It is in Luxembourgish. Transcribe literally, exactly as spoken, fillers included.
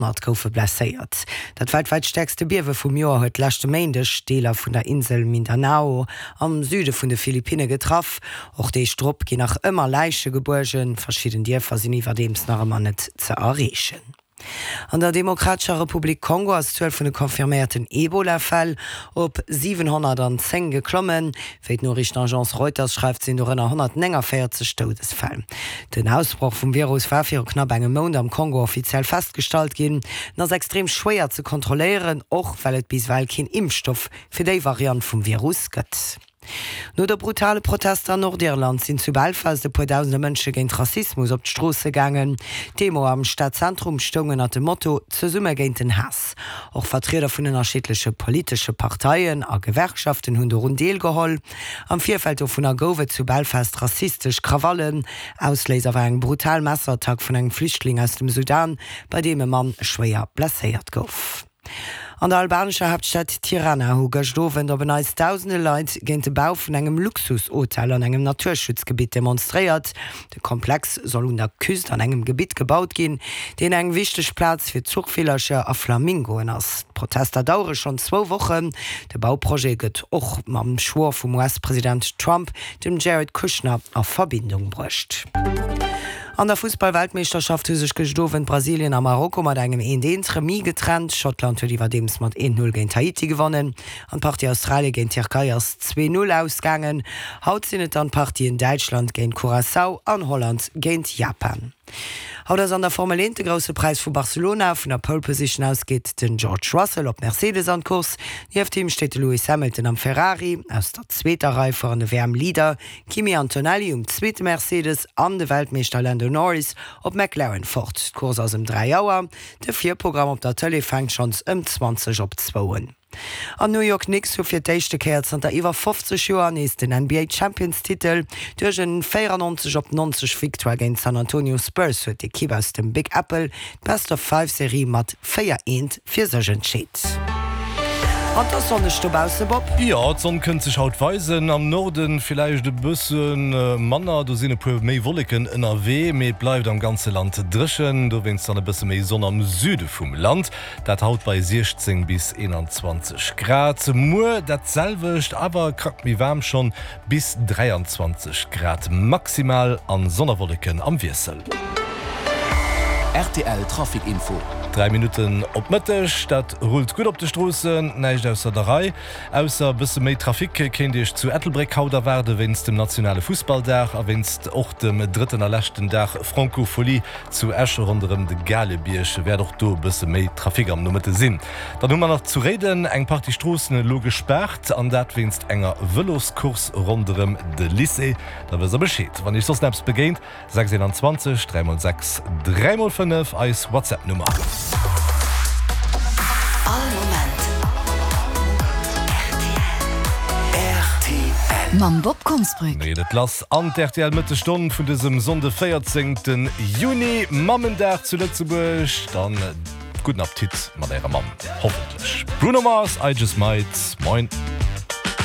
Honnert goufe blesséiert. Dat weltwäit stäerkste Biewe vum Joer huet leschte Méindeg Deeler vun der Insel Mindanao am Süde vun de Philippinne getraff. Och Deeg drop ginn nach ëmmer Läiche gebuergen. Verschidden Dierfer sinn iwwerdeems nach ëmmer net ze erreechen. An der Demokratescher Republik Kongo ass d'Zuel vun de confirméierten Ebola-Fäll op siwenhonnertanzéng geklommen. Wéi d'Noriichtenagence Reuters schreift, sinn dorënner honnertnénganvéierzeg Doudesfäll. Den Ausbroch vum Virus war viru knapp engem Mount am Kongo offiziell festgestallt ginn. En ass extrem schwéier ze kontrolléieren, och well et bis ewell keen Impfstoff fir déi Variant vum Virus gëtt. No de brutale Protester an Nordirland sinn zu Belfast e puer dausende Mënsche géint Rassismus op d'Stroosse gaangen. D'Demo am Stadzentrum stoung ënnert dem Motto Zesumme géint den Haass. Och Vertrieder vun ënnerschiddleche politesche Parteien a Gewerkschaften hunn dorun deelgeholl. Am Virfeld dovunner gouf et zu Belfast rassistesch Krawallen. Ausléiser war eng brutal Messerattack vun engem Flüchtling aus dem Sudan, bei deem e Mann schwéier blesséiert gouf. An der albanescher Haaptstad Tirana hu gëscht Owend op en Neits dausende Leit géint de Bau vun engem Luxushotel an engem Naturschutzgebitt demonstréiert. De Komplex soll un der Küst an engem Gebitt gebaut ginn, deen eng wichteg Plaz fir Zuchvillercher a Flamingoen ass. D'Protester dauere schonn zwou Wochen. De Bauprojet gëtt och mam Schwoer vum U S-President Trump, dem Jared Kushner, a Verbindung bruecht. An der Fussball-Weltmeeschterschaft hu sech gëscht Owend Brasilien a Marokko mat engem eent eent Remis getrennt. Schottland huet iwwerdeems mat eent null géint Haiti gewonnen an d'Partie Australie géint Tierkei ass zwee null ausgaangen. Haut sinn et dann d'Partien Däitschland géint Curaçao an Holland géint Japan. Haut ass an der Formel eent de Grousse Präis vu Barcelona. Vun der Pole Position aus geet den George Russell op Mercedes an d'Course. Nieft him steet de Lewis Hamilton am Ferrari. Aus der zweeter Rei fueren de W M-Leader Kimi Antonelli um zweete Mercedes an de Weltmeeschter Lando Norris op McLaren fort. D'Course ass ëm dräi Auer. De Virprogramm op der Tëlee fänkt schonns ëm zwanzeg op zwou un. An New York Knicks hu fir d'éischte Kéier zanter iwwer fofzeg Joer nees den N B A Champions Titel. Duerch en véierannonzeg op nonzeg Victoire géint San Antonio Spurs huet d'Ekipp aus dem Big Apple d'Best of Five Serie mat véier eent fir sech entscheet. An et ass sonneg dobausse, Bob. Jo, d'Sonn kënnt sech haut weisen. Am Norden villäicht e bësse manner, do sinn e puer méi Wolleken ënnerwee, mee et bleift am ganze Land dréchen. Dowéinst dann e bësse méi Sonn am Süde vum Land, dat haut bei siechzéng bis eenanzwanzeg Grad. Muer dat selwecht, awer krack méi waarm schonn, bis dräianzwanzeg Grad maximal an Sonn a Wolleken am Wiessel. R T L Trafic Info. Dräi Minutten op Mëtteg, dat rullt gutt op de Stroossen, näischt ausser der Rei. Ausser e bësse méi Trafic kéint Iech zu Ettelbréck haut erwaarde wéinst dem nationale Fussballdag a wéinst och dem drëtten a leschten Dag Francophonie zu Esch. Ronderëm de Galebierg wäert och do e bësse méi Trafic am Nomëtte sinn. Dann hu mer nach zu Réiden eng Partie Stroossen elo gespaart an dat wéinst enger Vëloscourse ronderëm de Lycée. Da wësst der Bescheed wann Iech soss nach eppes begéint. sechs eenanzwanzeg dräi mol sechs dräi mol fënnef, eis WhatsApp Nummer. All Moment R T L. Mam Bob Konsbrück. Geet et lass an d'R T L Mëttesstonn vun dësem Sonnde véierzéngte Juni, Mammendag zu Lëtzebuerg. Dann gudden Appetit mat ärer Mamm, hoffentlech. Bruno Mars, I Just Might. Moin.